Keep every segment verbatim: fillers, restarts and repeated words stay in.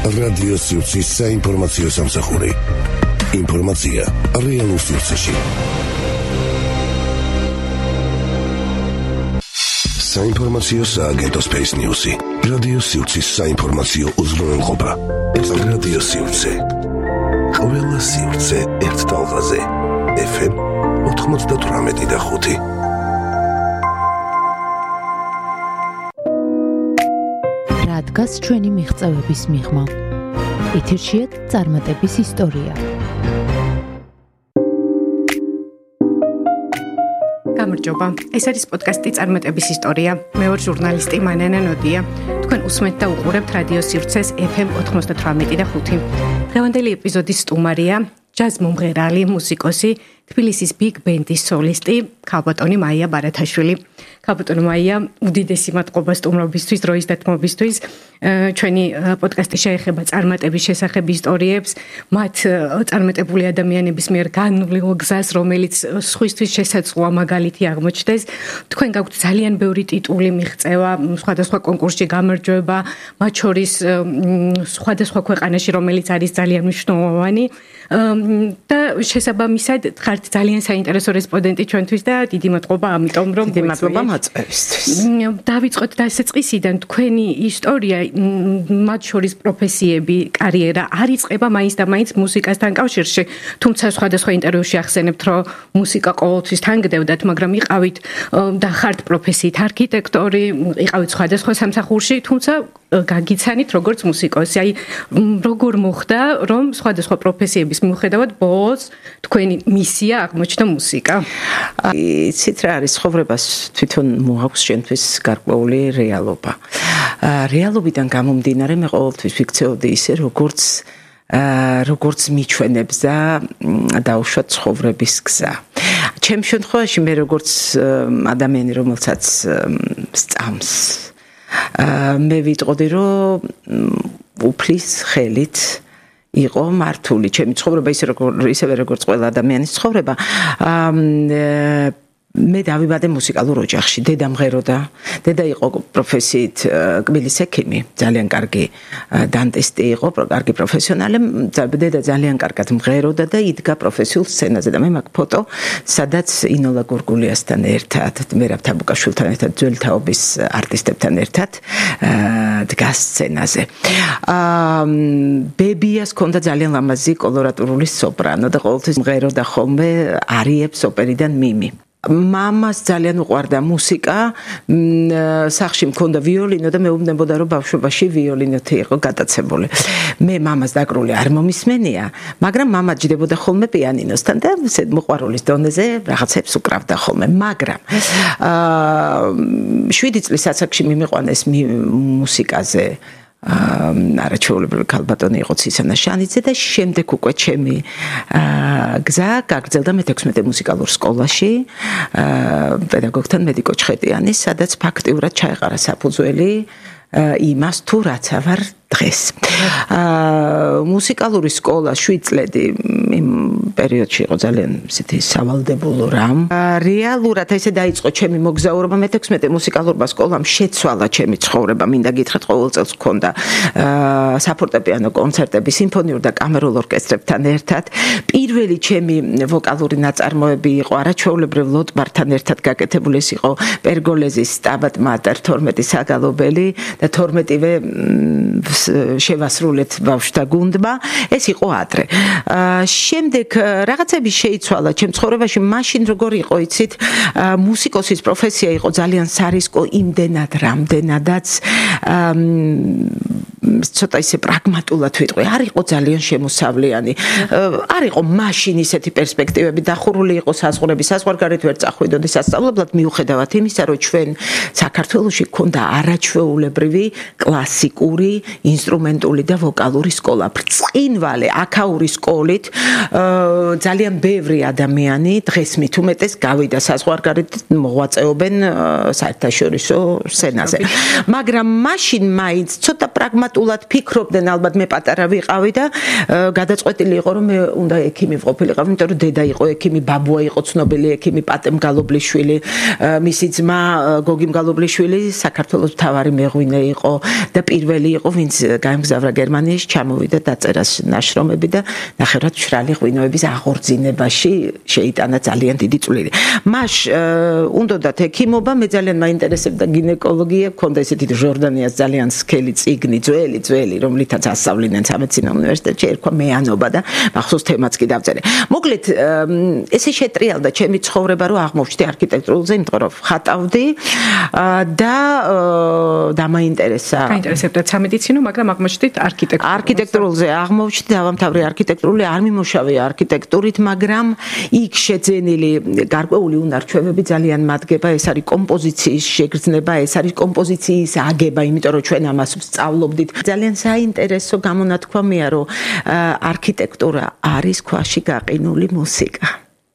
რადიო სივრცის საინფორმაციო სამსახური. ინფორმაცია რეალურ სივრცეში. საინფორმაციო სააგენტო Space News-ი. რადიო სივრცის საინფორმაციო უზრუნველყოფა. ეს რადიო სივრცე. ყველა სივრცე ერთ ტალღაზე. ეფ ემ ოთხმოცდათვრამეტი და ხუთი. რადგას ჩვენი მიღწევების მიღმა. ეთერშია წარმატების ისტორია. გამარჯობა. ეს არის პოდკასტი წარმატების ისტორია. მე ვარ ჟურნალისტი მანანა ნოდია. თქვენ უსმენთ და უყურებთ რადიო სივრცეს ეფ ემ ოთხმოცდათვრამეტი და ხუთი. დღევანდელი ეპიზოდის სტუმარია ჯაზ მომღერალი, მუსიკოსი, თბილისის ბიგ ბენდის სოლისტი, ქალბატონი მაია ბარათაშვილი. ქალბატონი მაია, უდიდესი მადლობა სტუმრობისთვის, დროის დათმობისთვის. ჩვენი პოდკასტი შეეხება წარმატების შესახებ ისტორიებს, მათ წარმატებული ადამიანების მიერ განვლილ გზას, რომელიც სხვისთვის შესაძლოა მაგალითი აღმოჩნდეს. თქვენ გაქვთ ძალიან ბევრი ტიტული მიღწევა, სხვადასხვა კონკურსში გამარჯვება, მათ შორის სხვადასხვა ქვეყანაში, რომელიც არის ძალიან მნიშვნელოვანი. და შესაბამისად ხართ ძალიან საინტერესო რესპონდენტი ჩვენთვის და დიდი მადლობა ამიტომ რომ დიდი მადლობა მოწვევისთვის. დავიწყოთ დასაწყისიდან თქვენი ისტორია, მათ შორის პროფესიები, კარიერა არ იწყება მაინც და მაინც მუსიკასთან კავშირში, თუმცა სხვადასხვა ინტერვიუში ახსენებთ, რომ მუსიკა ყოველთვის თან გდევდათ, მაგრამ იყავით და ხართ პროფესიით არქიტექტორი, იყავით სხვადასხვა სამსახურში, თუმცა გაგიცანით როგორც მუსიკოსი. აი როგორ მოხდა, რომ სხვადასხვა პროფესიების მიუხედავად ბოლოს თქვენი მისია აღმოჩნდა მუსიკა? იცით რა არის, ცხოვრებას თვითონ მოაქვს შენთვის გარკვეული რეალობა. რეალობიდან გამომდინარე მე ყოველთვის ვიქცეოდი ისე, როგორც როგორც მიჩვენებს და დაუშვათ ცხოვრების გზა. ჩემს შემთხვევაში მე როგორც ადამიანი, რომელსაც სწამს, მე ვიტყოდი, რომ უფლის ხელით იყო მართული ჩემი ცხოვრება, ისე როგორც ისევე როგორც ყველა ადამიანის ცხოვრება. მე დავიბადე მუსიკალურ ოჯახში. დედა მღეროდა. დედა იყო პროფესიით კბილის ექიმი, ძალიან კარგი დანტისტი იყო, კარგი პროფესიონალი. დედა ძალიან კარგად მღეროდა და იდგა პროფესიულ სცენაზე და მე მაქვს ფოტო, სადაც ინოლა გურგულიასთან ერთად, მერაბ თაბუკაშვილთან ერთად, ძველი თაობის არტისტებთან ერთად დგას სცენაზე. ბებიას ჰქონდა ძალიან ლამაზი კოლორატურული სოპრანო და ყოველთვის მღეროდა ხოლმე არიებს ოპერიდან მიმი. მამას ძალიან უყვარდა მუსიკა, სახლში მქონდა ვიოლინო და მეუბნებოდა, რომ ბავშვობაში ვიოლინოთი იყო გატაცებული. მე მამას დაკრული არ მომისმენია, მაგრამ მამა ჯდებოდა ხოლმე პიანინოსთან და ისე მოყვარულის დონეზე რაღაცებს უკრავდა ხოლმე, მაგრამ შვიდი წლის ასაკში მიმიყვანეს მუსიკაზე არაჩვეულებრივი ქალბატონი იყო ცისანა შანიძე და შემდეგ უკვე ჩემი გზა გაგრძელდა მეთექვსმეტე მუსიკალურ სკოლაში პედაგოგთან მედიკო ჩხეტიანის, სადაც ფაქტიურად ჩაეყარა საფუძველი იმას თუ რაც ავარ დღეს. მუსიკალური სკოლა შვიდ წლები იმ პერიოდში იყო ძალიან ისეთი სავალდებულო რამ. რეალურად ესე დაიწყო ჩემი მოგზაურობა მეთექვსმეტე მუსიკალურმა სკოლამ, შეცვალა ჩემი ცხოვრება. მინდა გითხრათ, ყოველ წელს მქონდა საფორტეპიანო კონცერტები სიმფონიურ და კამერულ ორკესტრებთან ერთად. პირველი ჩემი ვოკალური ნაწარმოები იყო არაჩვეულებრივ ლოტბართან ერთად გაკეთებული. ეს იყო პერგოლეზის სტაბატ მატერ თორმეტი საგალობელი და თორმეტივე შევასრულეთ ბავშვთა გუნდმა. ეს იყო ადრე. შემდეგ რაღაცები შეიცვალა ჩემ ცხოვრებაში. მაშინ როგორ იყო, იცით, მუსიკოსის პროფესია იყო ძალიან სარისკო, იმდენად რამდენადაც ცოტა ისე პრაგმატულად ვიტყვი, არ იყო ძალიან შემოსავლიანი. არ იყო მაშინ ისეთი პერსპექტივები, დახურული იყო საზღვრები, საზღვარგარეთ ვერ წახვიდოდი სასწავლებლად, მიუხედავად იმისა, რომ ჩვენ საქართველოში გქონდა არაჩვეულებრივი კლასიკური, ინსტრუმენტული და ვოკალური სკოლა. ბრწყინვალე აქაური სკოლით ძალიან ბევრი ადამიანი დღეს მით უმეტეს გავიდა საზღვარგარეთ, მოღვაწეობენ საერთაშორისო სცენაზე. მაგრამ მაშინ მაინც ცოტა პრაგმატულად ავტომატურად ფიქრობდნენ, ალბათ მე პატარა ვიყავი და გადაწყვეტილი იყო რომ მე უნდა ექიმი ვყოფილიყავ, იმიტომ რომ დედა იყო ექიმი, ბაბუა იყო ცნობილი ექიმი, პატემ გალობლიშვილი, მისი ძმა გოგი მგალობლიშვილი საქართველოს მთავარი მეღვინე იყო და პირველი იყო ვინც გაემგზავრა გერმანიაში, ჩამოვიდა დაწერა ნაშრომები და ნახევრად მშრალი ღვინოების აღორძინებაში შეიტანა ძალიან დიდი წვლილი. მას უნდათ ექიმობა, მე ძალიან მაინტერესებდა გინეკოლოგია, მქონდა ესეთი ჟორდანიას ძალიან სქელი წიგნი, ძველი, ძველი, რომლითაც ასწავლიდნენ სამედიცინო უნივერსიტეტში, ერქვა მეანობა და მახსოვს თემაც კი დავწერე. მოკლედ, ესე შეტრიალდა ჩემი ცხოვრება, რომ აღმოვჩნდი არქიტექტურულზე, იმიტომ რომ ხატავდი და დამაინტერესა. გაინტერესებდა სამედიცინო, მაგრამ აღმოჩნდით არქიტექტურაზე. არქიტექტურულზე აღმოვჩნდი, დავამთავრე არქიტექტურული, არ მიმუშავე არქიტექტურით, მაგრამ იქ შეძენილი გარკვეული უნარჩვევები ძალიან მადგება, ეს არის კომპოზიციის შეგრძნება, ეს არის კომპოზიციის აგება, იმიტომ რომ ჩვენ ამას ვსწავლობდით. ძალიან საინტერესო გამონათქვამია, რომ არქიტექტურა არის ქვაში გაყინული მუსიკა.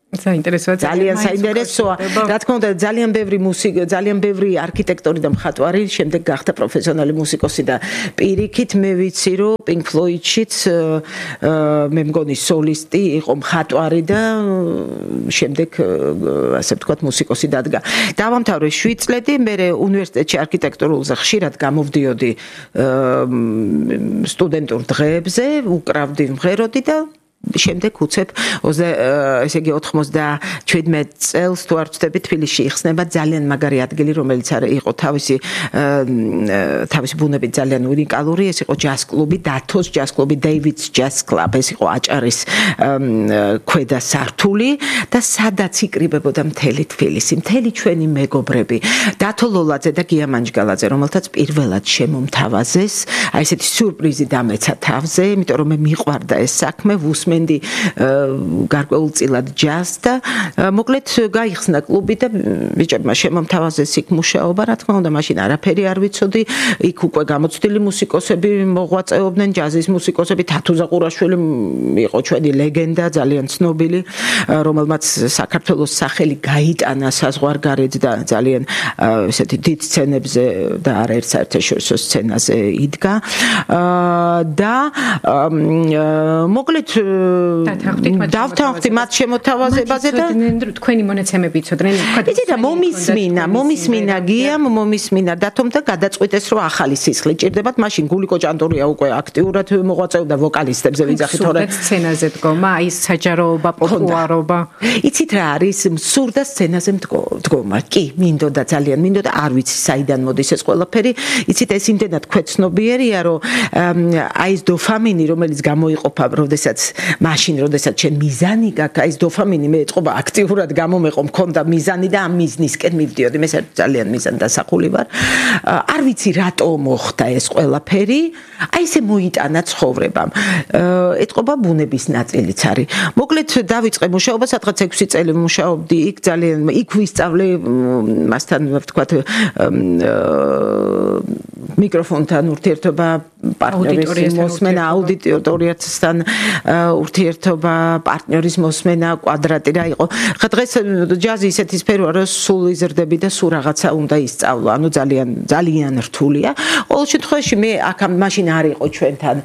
საინტერესოა, ძალიან საინტერესოა. რა თქმა უნდა, ძალიან ბევრი მუსიკა, ძალიან ბევრი არქიტექტორი და მხატვარი შემდეგ გახდა პროფესიონალი მუსიკოსი და პირიქით მე ვიცი, რომ Pink Floyd-შიც მე მგონი სოლისტი იყო, მხატვარი და შემდეგ ასე ვთქვათ მუსიკოსი დადგა. დავამთავრე შვიდ წლები, მე უნივერსიტეტში არქიტექტურულზე ხშირად გამოვდიოდი სტუდენტურ დღეებზე, უკრავდი, მღეროდი და შემდეგ უცებ ესე იგი ოცდაშვიდმეტ წელს თუ არ ვცდები თბილისში იხსნება ძალიან მაგარი ადგილი, რომელიც იყო თავისი თავისი ბუნებით ძალიან უნიკალური, ეს იყო ჯაზ კლუბი, დათოს ჯაზ კლუბი, დეივიდს ჯაზ კლუბ, ეს იყო აჭარის ქვედა სართული და სადაც იკრიბებოდა მთელი თბილისი, მთელი ჩვენი მეგობრები, დათო ლოლაძე და გია მანჯგალაძე, რომელთაც პირველად შემომთავაზეს, აი ესეთი სიურპრიზი დამეცა თავზე, იმიტომ რომ მე მიყვარდა ეს საქმე, ვუსმენდი გარკვეულწილად ჯაზს და მოკლედ გაიხსნა კლუბი და ბიჭებმა შემომთავაზეს იქ მუშაობა, რა თქმა უნდა, მაშინ არაფერი არ ვიცოდი, იქ უკვე გამოცდილი მუსიკოსები მოღვაწეობდნენ, ჯაზის მუსიკოსები, თათუზა ყურაშვილი იყო ჩვენი ლეგენდა, ძალიან ცნობილი, რომელმაც საქართველოს სახელი გაიტანა საზღვარგარეთ და ძალიან ესეთი დიდ სცენებზე და არაერთ საერთაშორისო სცენაზე იდგა და მოკლედ დავთანხმდი მათ შემოთავაზებაზე და თქვენი მონაცემები იცოდნენ, იცით რა მომისმინა, მომისმინა გიამ, მომისმინა დათომ და გადაწყვიტეს რომ ახალი სისხლი ჭირდებათ, მაშინ გულიკო ჭანტურია უკვე აქტიურად მოღვაწეობდა ვოკალისტებზე ვიძახი თორე სცენაზე დგომა, აი საჯაროობა, პოპულარობა. იცით რა არის მსურდა სცენაზე დგომა, კი, მინდოდა ძალიან, მინდოდა, არ ვიცი საიდან მოდის ეს ყველაფერი, იცით ეს იმდენად ქვეცნობიერია, რომ აი ეს დოფამინი, რომელიც გამოიყოფა, როდესაც მაშინ, როდესაც შენ მიზანი გაქვს, აი ეს დოფამინი მე ეწყობა აქტიურად გამომეყო, მქონდა მიზანი და ამ მიზნისკენ მივდიოდი, მე ძალიან მიზანდასახული ვარ. არ ვიცი რატო მოხდა ეს ყველაფერი, აი ესე მოიტანა ცხოვრებამ. ეწყობა ბუნების ნაწილიც არის. მოკლედ დავიწყე მუშაობა, სადღაც ექვსი წელი მუშაობდი, იქ ძალიან იქ ვისწავლე მასთან ვთქვათ მიკროფონთან ურთიერთობა, პარტნიორის მოსმენა, აუდიტორიასთან ურთიერთობა, პარტნიორის მოსმენა, კვადრატი რა იყო. ხა დღეს ჯაზი ისეთი სფეროა, რომ სულ იზრდები და სულ რაღაცა უნდა ისწავლო. ანუ ძალიან ძალიან რთულია. ყოველ შემთხვევაში მე აქ მაშინ არ იყო ჩვენთან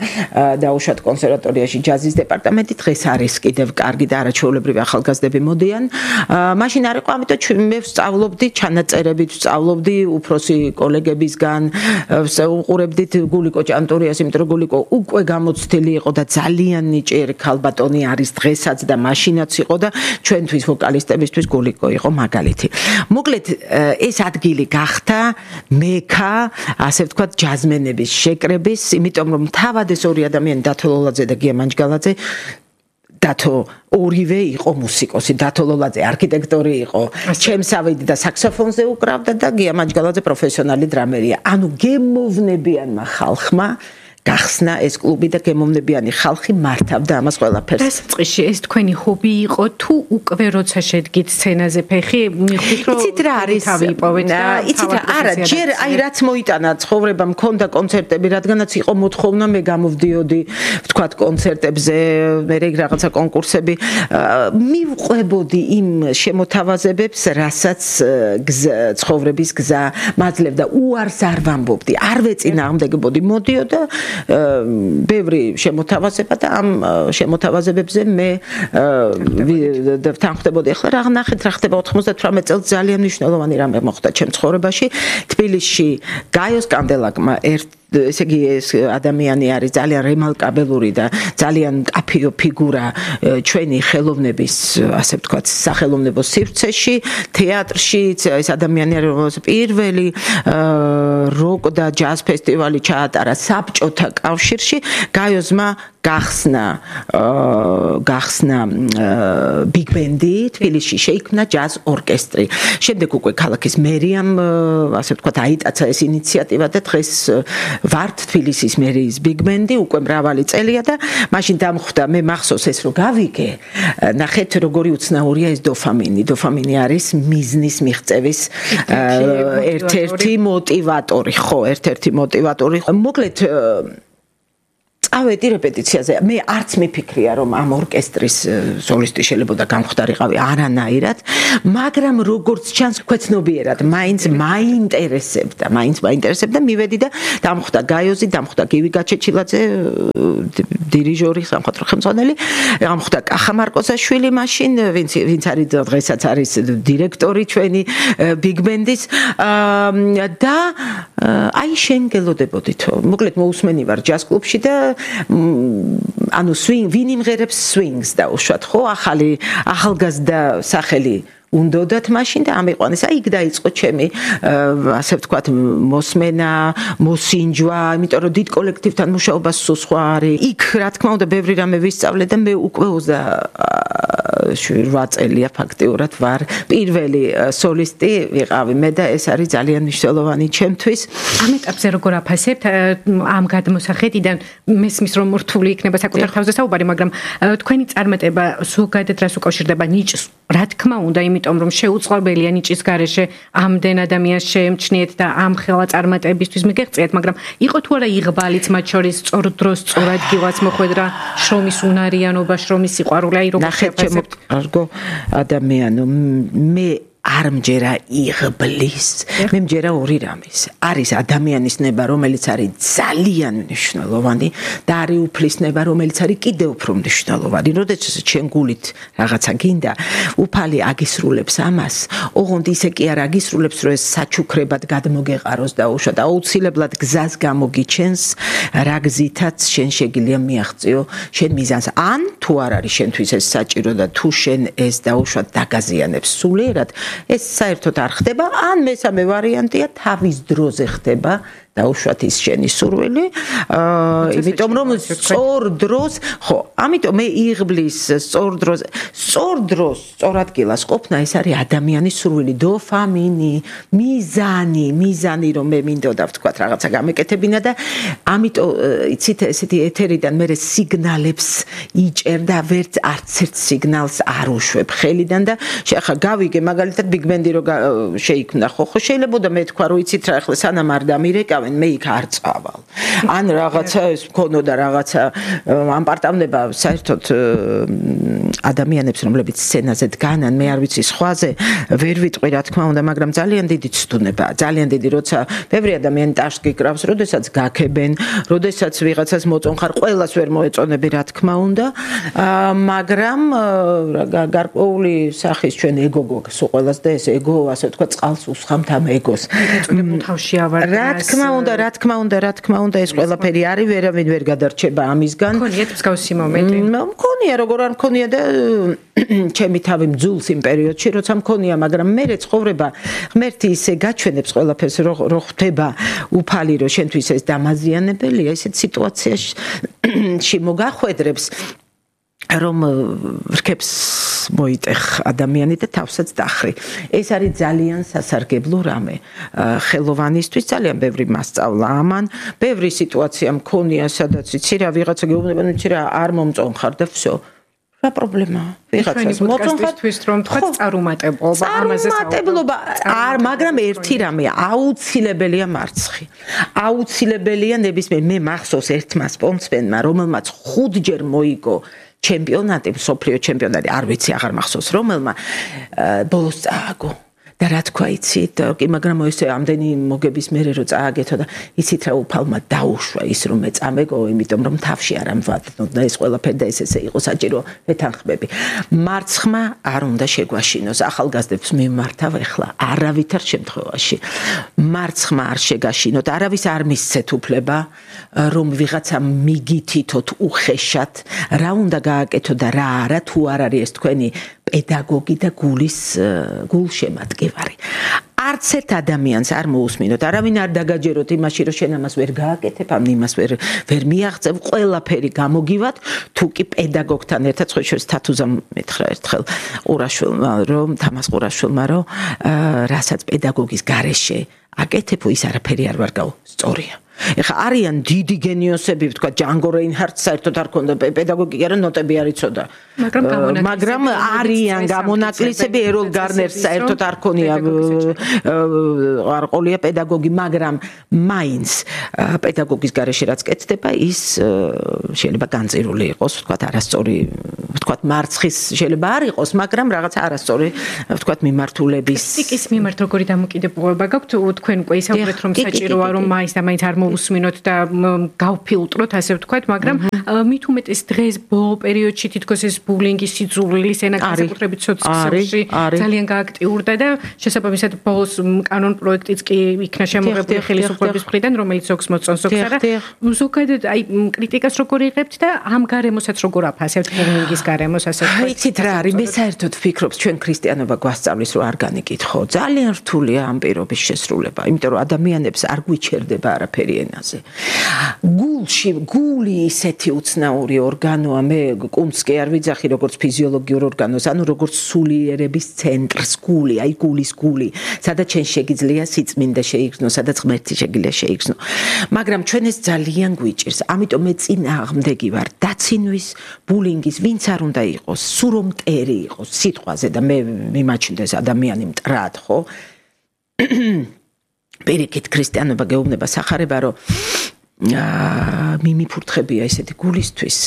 დაუშვათ კონსერვატორიაში ჯაზის დეპარტამენტი, დღეს არის კიდევ კარგი და არაჩვეულებრივი ახალგაზრდები მოდიან. მაშინ არ იყო, ამიტომ მე ვსწავლობდი ჩანაწერებით, ვსწავლობდი უფროსი კოლეგებისგან, ვუყურებდით გულიკო ჭანტურიას, იმიტომ რომ გულიკო უკვე გამოცდილი იყო და ძალიან ნიჭიერი ქალბატონი არის დღესაც და მაშინაც იყო და ჩვენთვის ვოკალისტებისთვის გულიკო იყო მაგალითი. მოკლედ ეს ადგილი გახდა მექა, ასე ვთქვათ, ჯაზმენების შეკრების, იმიტომ რომ თავად ეს ორი ადამიანი, დათო ლოლაძე და გია მანჯგალაძე, დათო ორივე იყო მუსიკოსი, დათო ლოლაძე არქიტექტორი იყო, ჩემსავიდი და საქსოფონზე უკრავდა და გია მანჯგალაძე პროფესიონალი დრამერია. ანუ გემოვნებიანმა ხალხმა გახსნა ეს კლუბი და გემოვნებიანი ხალხი მართავდა ამას ყველაფერს. დასაწყისში ეს თქვენი ჰობი იყო თუ უკვე როცა შედგით სცენაზე ფეხი მიხვდით რომ იცით რა არის თავი იპოვეთ და იცით არა ჯერ აი რაც მოიტანა ცხოვრება მქონდა კონცერტები რადგანაც იყო მოთხოვნა მე გამოვდიოდი ვთქვათ კონცერტებზე მე რაღაცა კონკურსები მივყვებოდი იმ შემოთავაზებებს რასაც ცხოვრების გზა მაძლევდა უარს არ ვამბობდი არ ვეწინააღმდეგებოდი მოდიოდა ბევრი შემოთავაზება და ამ შემოთავაზებებზე მე თანხმდებოდი. ახლა რა ნახეთ რა ხდება ოთხმოცდათვრამეტ წელს ძალიან მნიშვნელოვანი რამე მოხდა ჩემ ცხოვრებაში. თბილისში გაიოს კანდელაკმა ერთ ესე იგი ეს ადამიანი არის ძალიან რემარკაბელური და ძალიან კაფიო ფიგურა ჩვენი ხელოვნების ასე ვთქვათ სახელოვნებო სივრცეში თეატრში ეს ადამიანი არის რომელსაც პირველი როკ და ჯაზ ფესტივალი ჩაატარა საბჭოთა კავშირში გაიოსმა გახსნა გახსნა ბიგ ბენდი თბილისში შეიქმნა ჯაზ ორკესტრი შემდეგ უკვე ქალაქის მერიამ ასე ვთქვათ აიტაცა ეს ინიციატივა და დღეს ვართ თბილისის მერიის ბიგ ბენდი უკვე მრავალი წელია და მაშინ დამხვდა მე მახსოვს ეს რომ გავიგე ნახეთ როგორი უცნაურია ეს დოფამინი დოფამინი არის მიზნის მიღწევის ერთ-ერთი მოტივატორი ხო ერთ-ერთი მოტივატორი მოკლედ ავედი რეპეტიციაზე მე არც მიფიქრია რომ ამ ორკესტრის სოლისტი შეიძლება გამხვდარიყავი არანაირად მაგრამ როგორც ჩანს ქვეცნობიერად მაინც მაინტერესებდა მაინც მაინტერესებდა მივედი და დამხვდა გაიოზი დამხვდა გივი გაჩეჩილაძე დირიჟორი სამხატვრო ხელმძღვანელი დამხვდა კახა მარკოზაშვილი მაშინ ვინც ვინც არის დღესაც არის დირექტორი ჩვენი ბიგ ბენდის და აი შენ გელოდებოდით მოკლედ მოусმენი ვარ ჯაზ კლუბში და ანუ swing ვინ იმღერებს swings და უშუალოდ ხო ახალი ახალგაზრდა სახელი უნდათ მაშინ და ამიყვანეს აი იქ დაიწყო ჩემი ასე ვთქვათ მოსმენა მოსინჯვა იმიტომ რომ დიდ კოლექტივთან მუშაობა სულ სხვა არის იქ რა თქმა უნდა ბევრი რამე ვისწავლე და მე უკვე ოცდაოთხ წელია ფაქტიურად ვარ პირველი სოლისტი ვიყავი მე და ეს არის ძალიან მნიშვნელოვანი ჩემთვის ამ ეტაპზე როგორ აფასებთ ამ გადმოსახედიდან მესმის რომ რთული იქნება საკუთარ თავზე საუბარი მაგრამ თქვენი წარმატება ზოგადად რას უკავშირდება ნიჭს რა თქმა უნდა იმიტომ რომ შეუწყობელია ნიჭის გარეშე ამდენ ადამიანს შეემჩნიეთ და ამ ხელა წარმატებისთვის მიგეღწიათ მაგრამ იყო თუ არა იღბალიც მათ შორის სწორ დროს სწორ ადგილას მოხვედრა შრომის უნარიანობა შრომის სიყვარული აი როგორ შეფასებთ არგო ადამიანო მე არ მჯერა იღბლის მე მჯერა ორი რამის არის ადამიანის ნება რომელიც არის ძალიან მნიშვნელოვანი და არის უფლის ნება რომელიც არის კიდევ უფრო მნიშვნელოვანი როდესაც ჩვენ გულით რაღაცა გინდა უფალი აგისრულებს ამას ოღონდ ისე კი არ აგისრულებს რომ ეს საჩუქრებად გადმოგეყაროს და უშუალოდ აუცილებლად გზას გამოგიჩენს რა გზითაც შენ შეგიძლია მიაღწიო შენ მიზანს ან თუ არ არის შენთვის ეს საჭირო და თუ შენ ეს და უშუალოდ დაგაზიანებს სულიერად ეს საერთოდ არ ხდება ან მესამე ვარიანტია თავის დროზე ხდება და უშუალოდ ის შენი სურვილი იმიტომ რომ სწორ დროს ხო ამიტომ მე იღბლის სწორ დროს სწორ დროს სწორ ადგილას ყოფნა ეს არის ადამიანის სურვილი დოფამინი მიზანი მიზანი რომ მე მინდოდა ვთქვათ რაღაცა გამეკეთებინა და ამიტომ იცით ესეთი ეთერიდან მე სიგნალებს იჭერდა ვერც არც ერთ სიგნალს არ უშვებ ხელიდან და შეხა გავიგე მაგალითად ბიგ ბენდი რო შეიქმნა ხო ხო შეიძლება მე თქვა რომ იცით რა ახლა სანამ არ დამირეკა მე იქ არ წავალ. ან რაღაცა ეს მქონოდა რაღაცა ამპარტავნება საერთოდ ადამიანებს რომლებიც სცენაზე დგანან მე არ ვიცი სხვაზე ვერ ვიტყვი რა თქმა უნდა მაგრამ ძალიან დიდი ცდუნება ძალიან დიდი როცა ბევრი ადამიანი ტაშს გიკრავს როდესაც გაქებენ როდესაც ვიღაცას მოწონხარ ყველას ვერ მოეწონები რა თქმა უნდა მაგრამ გარკვეული სახის ჩვენ ეგო გვაქვს ყველას და ეს ეგო ასე ვთქვა წყალს უსხამთ ამ ეგოს თავში ავარ რა თქმა უნდა რა თქმა უნდა რა თქმა უნდა ეს ყველაფერი არის ვერავინ ვერ გადარჩება ამისგან მქონიათ მსგავსი მომენტი მქონია როგორ არ მქონია და ჩემი თავი მძულს იმ პერიოდში როცა მქონია მაგრამ მე ცხოვრება ღმერთი ისე გაჩვენებს ყველაფერს რო ხდება უფალი რო შენთვის ეს დამაზიანებელია ესეთ სიტუაციაში მოგახვედრებს რომ რქებს მოიტეხ ადამიანი და თავსაც დახრი. ეს არის ძალიან სასარგებლო რამე. ხელოვანისთვის ძალიან ბევრი მასწავლა ამან, ბევრი სიტუაცია მქონია, სადაც იცი რა ვიღაცა გეუბნება, იცი რა არ მომწონხარ და всё. რა პრობლემაა? ვიღაცას მოწონხართვის რომ თქვა წარუმატებლობა, ამაზე წარუმატებლობა, არ, მაგრამ ერთი რამე, აუცილებელია მარცხი. აუცილებელია ნებისმიერ მე მახსოვს ერთმა სპორტსმენმა, რომელმაც ხუთჯერ მოიგო ჩემპიონატი, მსოფლიო ჩემპიონატი, არ ვიცი, აღარ მახსოვს რომელმა, ბოლოს წააგო. და რა თქვა იცით, კი, მაგრამ ესე ამდენი მოგების მერე რო წააგეთო და იცით რა უფალმა დაუშვა ის რომ მე წამეგო, იმიტომ რომ თავში არ ამვადნო და ეს ყველაფერი და ეს ესე იყო საჭირო ვეთანხმები. მარცხმა არ უნდა შეგვაშინოს, ახალგაზრდებს მიმართავ ახლა არავითარ შემთხვევაში. მარცხმა არ შეგაშინოთ, არავის არ მისცეთ უფლება რომ ვიღაცა მიგითითოთ უხეშად, რა უნდა გააკეთო და რა არა, თუ არ არის ეს თქვენი პედაგოგი და გულის გულშემატკივარი. არც ერთ ადამიანს არ მოусმინოთ, არავინ არ დაგაჯეროთ იმაში, რომ შენ ამას ვერ გააკეთებ, ამ იმას ვერ ვერ მიაღწევ, ყველაფერი გამოგივათ, თუ კი პედაგოგთან ერთად სხვა შორის თათუზამ მითხრა ერთხელ ყურაშვილმა, რომ თამას ყურაშვილმა, რომ რასაც პედაგოგის გარეშე აკეთებ, ის არაფერი არ ვარ გაუ, სწორია. ეხა არიან დიდი გენიოსები, ვთქვა ჯანგო რეინჰარდს საერთოდ არ ქონდა პედაგოგი, არა ნოტები არ იცოდა. მაგრამ არიან გამონაკლისები, ეროლ გარნერს საერთოდ არ ქონია არ ყოლია პედაგოგი, მაგრამ მაინც პედაგოგის გარეშე რაც კეთდება, ის შეიძლება განწირული იყოს, ვთქვა არასწორი, ვთქვა მარცხის შეიძლება არ იყოს, მაგრამ რაღაც არასწორი, ვთქვა მიმართულების. კრიტიკის მიმართ როგორი დამოკიდებულება გაქვთ, თქვენ უკვე ისაუბრეთ რომ საჭიროა რომ მაინც და მაინც არ მოусმინოთ და გავფილტროთ, ასე ვთქვათ, მაგრამ მით უმეტეს დღეს ბოლო პერიოდში თითქოს ეს ბულინგის სიძულვილის ენა განსაკუთრებით სოციალში ძალიან გააქტიურდა და შესაბამისად ბოლოს კანონ პროექტიც კი იქნა შემოღებული ხელისუფლების მხრიდან, რომელიც ზოგს მოწონს, ზოგს არა. ზოგადად აი კრიტიკას როგორ იღებთ და ამ გარემოსაც როგორ აფასებთ ბულინგის გარემოს, ასე ვთქვათ. იცით რა არის, მე საერთოდ ვფიქრობ, ჩვენ ქრისტიანობა გვასწავლის, რომ არ განიკითხო. ძალიან რთულია ამ პირობის შესრულება, იმიტომ რომ ადამიანებს არ გვიჩერდება არაფერი ენაზე. გულში, გული ისეთი უცნაური ორგანოა, მე კუნთს კი არ ვიძახი როგორც ფიზიოლოგიურ ორგანოს, ანუ როგორც სულიერების ცენტრს, გული, აი გულის გული, სადაც შენ შეგიძლია სიწმინდე შეიგრძნო, სადაც ღმერთი შეგიძლია შეიგრძნო. მაგრამ ჩვენ ეს ძალიან გვიჭირს, ამიტომ მე წინააღმდეგი ვარ დაცინვის, ბულინგის, ვინც არ უნდა იყოს, სულ რომ მტერი იყოს სიტყვაზე და მე მიმაჩნდეს ადამიანი მტრად, ხო? პირიქით ქრისტიანობა გეუბნება სახარება, რომ მიმიფურთხებია ესეთი გულისთვის,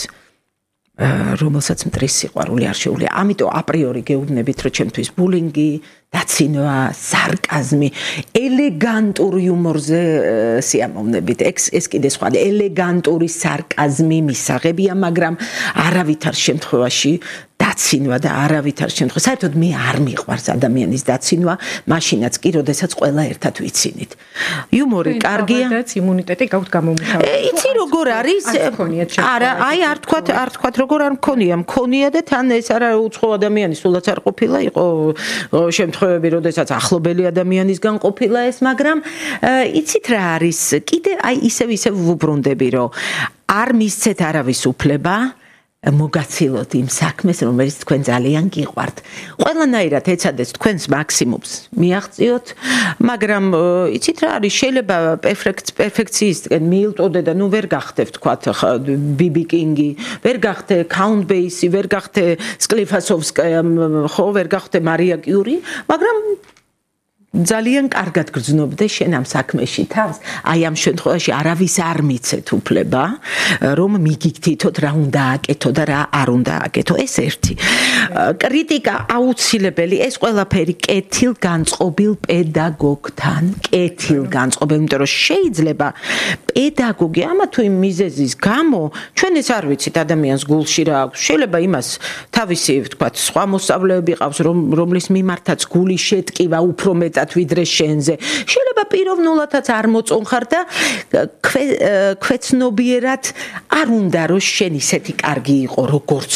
რომელსაც მტრის სიყვარული არ შეუძლია. ამიტომ აპრიორი გეუბნებით, რომ ჩემთვის ბულინგი, დაცინვა, სარკაზმი, ელეგანტურ იუმორზე სიამოვნებით. ეს კიდე სხვა, ელეგანტური სარკაზმი მისაღებია, მაგრამ არავითარ შემთხვევაში დაცინვა და არავითარ შემთხვევაში საერთოდ მე არ მიყვარს ადამიანის დაცინვა, მაშინაც კი, როდესაც ყველა ერთად ვიცინით. იუმორი კარგია. და იმუნიტეტი გაქვთ გამომუშავებული. იცი როგორ არის? არა, აი არ თქვათ, არ თქვათ როგორ არ მქონია, მქონია და თან ეს არა უცხო ადამიანი, სულაც არ ყოფილა, იყო შემთხვევები, როდესაც ახლობელი ადამიანისგან ყოფილა ეს, მაგრამ იცით რა არის? კიდე აი ისევ ისევ ვუბრუნდები, რომ არ მისცეთ არავის უფლება მოგაცილოთ იმ საქმეს, რომელიც თქვენ ძალიან გიყვართ. ყველანაირად ეცადეთ თქვენს მაქსიმუმს მიაღწიოთ, მაგრამ იცით რა არის, შეიძლება პერფექციისტკენ მიილტოდე და ნუ ვერ გახდე, ვთქვათ, ბიბი კინგი, ვერ გახდე კაუნტ ბეისი, ვერ გახდე სკლიფასოვსკაია, ხო, ვერ გახდე მარია კიური, მაგრამ ძალიან კარგად გრძნობდე შენ ამ საქმეში თავს. აი ამ შემთხვევაში არავის არ მიცეთ უფლება, რომ მიგიგთითოთ რა უნდა აკეთო და რა არ უნდა აკეთო. ეს ერთი. კრიტიკა აუცილებელი, ეს ყველაფერი კეთილგანწყობილ პედაგოგთან, კეთილგანწყობილ, იმიტომ რომ შეიძლება პედაგოგი ამა თუ იმ მიზეზის გამო, ჩვენ ეს არ ვიცით ადამიანს გულში რა აქვს. შეიძლება იმას თავისი, ვთქვათ, სხვა მოსწავლეები ყავს, რომლის მიმართაც გული შეტკივა უფრო მეტად ვიდრე შენზე. შეიძლება პიროვნულადაც არ მოწონხარ და ქვეცნობიერად არ უნდა რომ შენ ისეთი კარგი იყო როგორც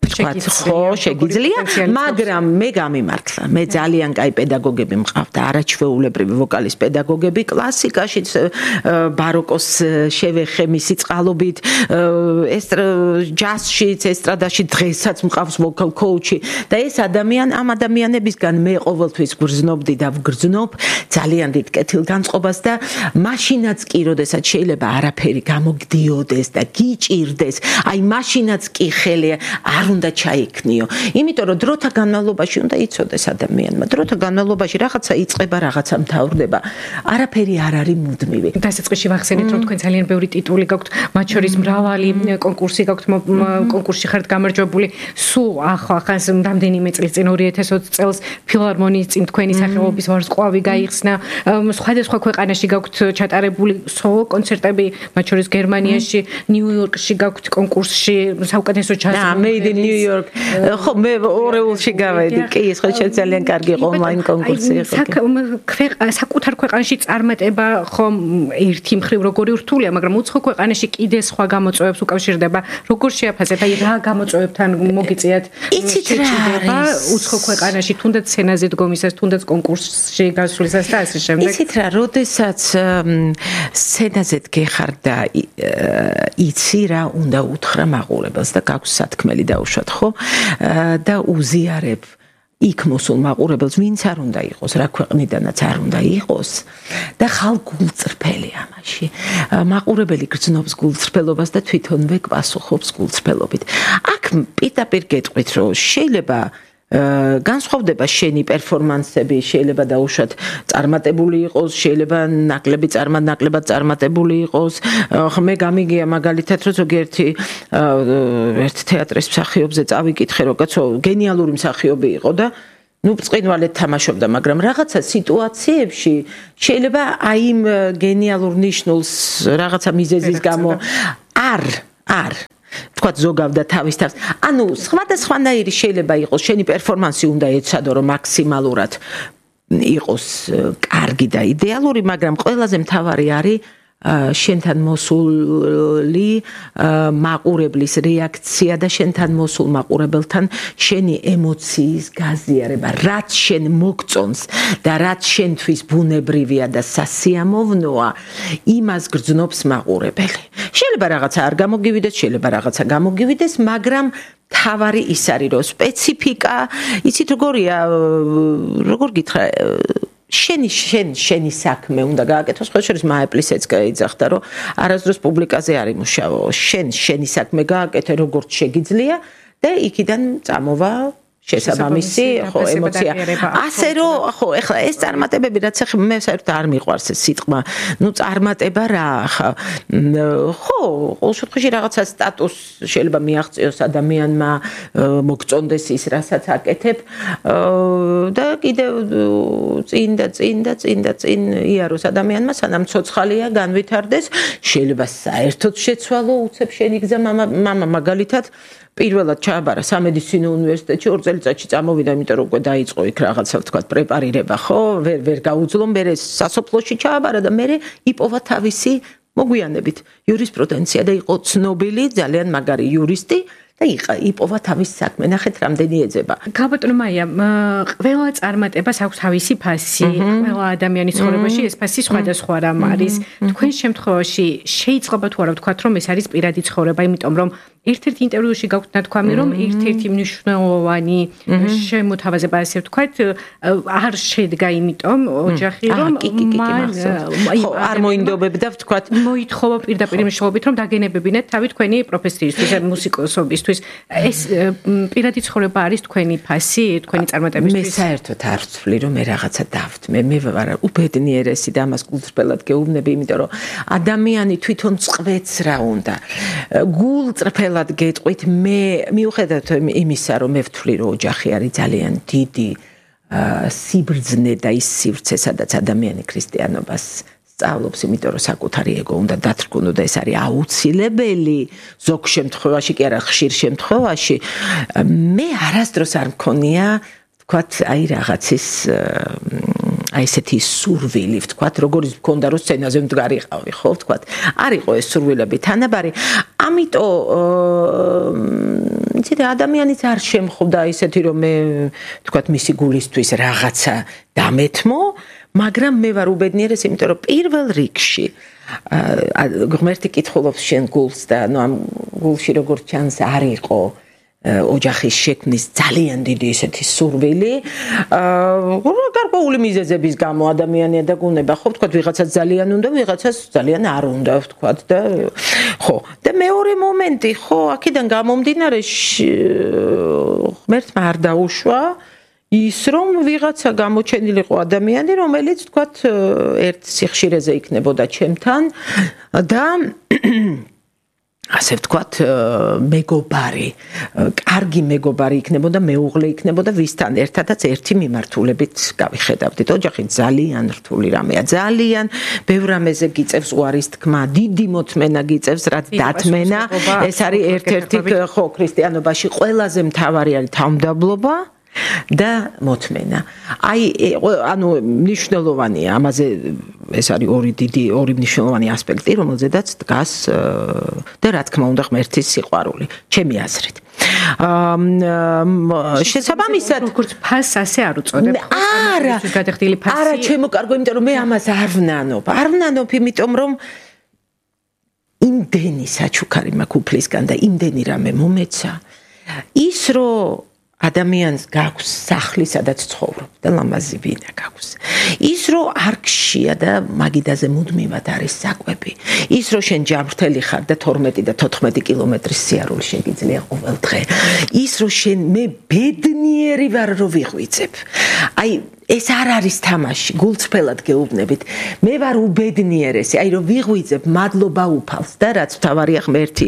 ხო, შეგიძლია, მაგრამ მე გამიმართლა. მე ძალიან კაი პედაგოგები მყავდა, არაჩვეულებრივი ვოკალის პედაგოგები, კლასიკაშიც ბაროკოს შევეხე მისი წყალობით, ჯაზშიც, ესტრადაში დღესაც მყავს ვოკალ კოუჩი და ეს ადამიან ამ ადამიანებისგან მე ყოველთვის გრძნობდი და ვგრძნობ ძალიან დიდ კეთილგანწყობას და მაშინაც კი როდესაც შეიძლება არაფერი გამოგდიოდეს და გიჭირდეს, აი მაშინაც კი ხელი არ უნდა ჩაიქნიო. იმიტომ რომ დროთა განმავლობაში უნდა იცოდეს ადამიანმა. დროთა განმავლობაში რაღაცა იწყება, რაღაცა მთავრდება. არაფერი არ არის მუდმივი. დასაწყისში ვახსენეთ, რომ თქვენ ძალიან ბევრი ტიტული გაქვთ, მათ შორის მრავალი კონკურსი გაქვთ, კონკურსში ხართ გამარჯვებული. სულ ახლა რამდენიმე წლის წინ ორი ათას ოცი წელს ფილარმონიის წინ თქვენი სახელობის ვარსკვლავი გაიხსნა. სხვადასხვა ქვეყანაში გაქვთ ჩატარებული სოლო კონცერტები, მათ შორის გერმანიაში, ნიუ-იორკში გაქვთ კონკურსში საუკეთესო ჯაზი. და Made in New York. ხო, მე ორეულში გავედი. კი, ეს ხო ძალიან კარგი ონლაინ კონკურსი იყო. საკუთარ ქვეყანაში წარმატება ხომ ერთი მხრივ როგორი რთულია, მაგრამ უცხო ქვეყანაში კიდე სხვა გამოწვევებს უკავშირდება. როგორ შეაფასეთ? აი რა გამოწვევებთან მოგიწიათ? იცით რა არის? უცხო ქვეყანაში თუნდაც სცენაზე დგომისას, თუნდაც კონკურსში გასვლისას და ასე შემდეგ. იცით რა, როდესაც სცენაზე დგეხარ და იცი რა უნდა უთხრა მაყურებელს და გაქვს სათქმელი დაუშვათ, ხო? და უზიარებ იქ მოსულ მაყურებელს, ვინც არ უნდა იყოს, რა ქვეყნიდანაც არ უნდა იყოს და ხალ გულწრფელი ამაში. მაყურებელი გრძნობს გულწრფელობას და თვითონვე გპასუხობს გულწრფელობით. აქ პირდაპირ გეტყვით, რომ შეიძლება განსხვავდება შენი პერფორმანსები, შეიძლება დაუშვათ წარმატებული იყოს, შეიძლება ნაკლები წარმატნაკლებად წარმატებული იყოს. მე გამიგია მაგალითად, რომ ზოგიერთი ერთ თეატრის მსახიობზე წავიკითხე, რომ კაცო გენიალური მსახიობი იყო და ნუ წინვალეთ თამაშობდა, მაგრამ რაღაცა სიტუაციებში შეიძლება აი იმ გენიალურ ნიშნულს რაღაცა მიზეზის გამო არ არ თქვა ზოგავდა თავის თავს. ანუ სხვადასხვანაირი შეიძლება იყოს, შენი პერფორმანსი უნდა ეცადო, რომ მაქსიმალურად იყოს კარგი და იდეალური, მაგრამ ყველაზე მთავარი არის შენთან მოსული მაყურებლის რეაქცია და შენთან მოსულ მაყურებელთან შენი ემოციის გაზიარება, რაც შენ მოგწონს და რაც შენთვის ბუნებრივია და სასიამოვნოა, იმას გრძნობს მაყურებელი. შეიძლება რაღაცა არ გამოგივიდეს, შეიძლება რაღაცა გამოგივიდეს, მაგრამ თავარი ის არის, რომ სპეციფიკა, იცით როგორია, როგორ გითხრა, შენი შენ შენი საქმე უნდა გააკეთოს, ხო შეიძლება მაეპლისეც გაიძახდა, რომ არასდროს პუბლიკაზე არ იმუშაო, შენ შენი საქმე გააკეთე როგორც შეგიძლია და იქიდან წამოვა შესაბამისი ხო ემოცია. ასე რომ ხო ეხლა ეს წარმატებები რაც ახლა მე საერთოდ არ მიყვარს ეს სიტყვა. ნუ წარმატება რა ხა ხო ყოველ შემთხვევაში რაღაცა სტატუს შეიძლება მიაღწიოს ადამიანმა, მოგწონდეს ის რასაც აკეთებ და კიდევ წინ და წინ და წინ და წინ იაროს ადამიანმა სანამ ცოცხალია განვითარდეს, შეიძლება საერთოდ შეცვალო უცებ შენი გზა. მამა მაგალითად პირველად ჩააბარა სამედიცინო უნივერსიტეტში, ორ წელიწადში წამოვიდა, იმიტომ რომ უკვე დაიწყო იქ რაღაცა ვთქვათ პრეპარირება, ხო, ვერ ვერ გაუძლო, მერე სასოფლოში ჩააბარა და მერე იპოვა თავისი მოგვიანებით იურისპრუდენცია და იყო ცნობილი, ძალიან მაგარი იურისტი და იპოვა თავის საქმე. ნახეთ რამდენი ეძება. გაბატონო მაია, ყველა წარმატებას აქვს თავისი ფასი, ყველა ადამიანის ცხოვრებაში ეს ფასი სხვადასხვა რამ არის. თქვენ შემთხვევაში შეიძლება თუ არა ვთქვათ, რომ ეს არის პირადი ცხოვრება, იმიტომ რომ ერთ-ერთ ინტერვიუში გაქვთ ნათქვამი, რომ ერთ-ერთი მნიშვნელოვანი შემოთავაზება, ასე ვთქვათ, არ შედგა იმიტომ ოჯახი, რომ მან არ მოინდობებდა, ვთქვათ, მოითხოვა პირდაპირ მნიშვნელობით, რომ დაგენებებინეთ თავი თქვენი პროფესიისთვის, მუსიკოსობისთვის. ეს პირადი ცხოვრება არის თქვენი ფასი, თქვენი წარმატებისთვის. მე საერთოდ არ ვთვლი, რომ მე რაღაცა დავთმე. მე ვარ უბედნიერესი და ამას გულწრფელად გეუბნები, იმიტომ რომ ადამიანი თვითონ წყვეც რა უნდა. გულწრფელად გეტყვით, მე მიუხედავად იმისა, რომ მე ვთვლი, რომ ოჯახი არის ძალიან დიდი სიბრძნე და ის სივრცე, სადაც ადამიანი ქრისტიანობას სწავლობს, იმიტომ რომ საკუთარი ეგო უნდა დათრგუნო და ეს არის აუცილებელი. ზოგ შემთხვევაში კი არა, ხშირ შემთხვევაში მე არასდროს არ მქონია, ვთქვათ, აი რაღაცის აი ესეთი სურვილი, ვთქვათ, როგორც მქონდა რომ სცენაზე მდგარიყავი, ხო, ვთქვათ, არ იყო ეს სურვილები თანაბარი. ამიტომ იცით, ადამიანიც არ შემხვდა ისეთი, რომ მე თქვათ მისი გულისთვის რაღაცა დამეთმო, მაგრამ მე ვარ უბედნიერეს, იმიტომ რომ პირველ რიგში ღმერთი კითხულობს შენ გულს და ნუ ამ გულში როგორც ჩანს არ იყო ოჯახის შექმნის ძალიან დიდი ისეთი სურვილი. აა გარკვეული მიზეზების გამო ადამიანია და გუნება, ხო, ვთქვათ, ვიღაცას ძალიან უნდა, ვიღაცას ძალიან არ უნდა, ვთქვათ და ხო. და მეორე მომენტი, ხო, აქედან გამომდინარე ღმერთმა არ დაუშვა ის რომ ვიღაცა გამოჩენილიყო ადამიანი, რომელიც ვთქვათ, ერთ სიხშირეზე იქნებოდა ჩემთან და ასე ვთქვათ, მეგობარი, კარგი მეგობარი იქნებოდა, მეუღლე იქნებოდა, ვისთან ერთადაც ერთი მიმართულებით გავიხედავდით. ოჯახი ძალიან რთული რამეა, ძალიან ბევრ რამეზე გიწევს უარის თქმა, დიდი მოთმენა გიწევს, რაც დათმენა. ეს არის ერთ-ერთი ხო ქრისტიანობაში ყველაზე მთავარი არის თავმდაბლობა და მოთმენა. აი, ანუ მნიშვნელოვანია, ამაზე ეს არის ორი დიდი, ორი მნიშვნელოვანი ასპექტი, რომელზედაც დგას და რა თქმა უნდა ღმერთის სიყვარული, ჩემი აზრით. აა შესაბამისად, როგორც ფასს ასე არ უწოდებ. არა, გადახდილი ფასი. არა, ჩემო კარგო, იმიტომ რომ მე ამას არ ვნანობ. არ ვნანობ, იმიტომ რომ იმდენი საჩუქარი მაქვს უფლისგან და იმდენი რამე მომეცა. ის რომ ადამიანს გაქვს სახლი, სადაც ცხოვრობ და ლამაზი ვინა გაქვს. ის რომ არ გშია და მაგიდაზე მუდმივად არის საკვები. ის რომ შენ ჯანმრთელი ხარ და თორმეტი და თოთხმეტი კილომეტრის სიარული შეგიძლია ყოველ დღე. ის რომ შენ მე ბედნიერი ვარ რომ ვიღვიძებ. აი ეს არ არის თამაში, გულწრფელად გეუბნებით. მე ვარ უბედნიერესი, აი რომ ვიღვიძებ მადლობა უფალს და რაც თავარია ღმერთი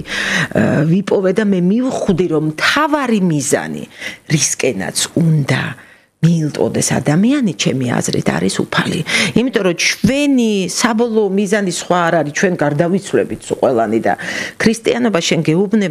ვიპოვე და მე მივხვდი რომ თავარი მიზანი რისკენაც უნდა მიილტოდეს ადამიანი, ჩემი აზრით არის უფალი. იმიტომ რომ ჩვენი საბოლოო მიზანი სხვა არ არის, ჩვენ გარდავიცვლებით ყველანი და ქრისტიანობა შენ გეუბნება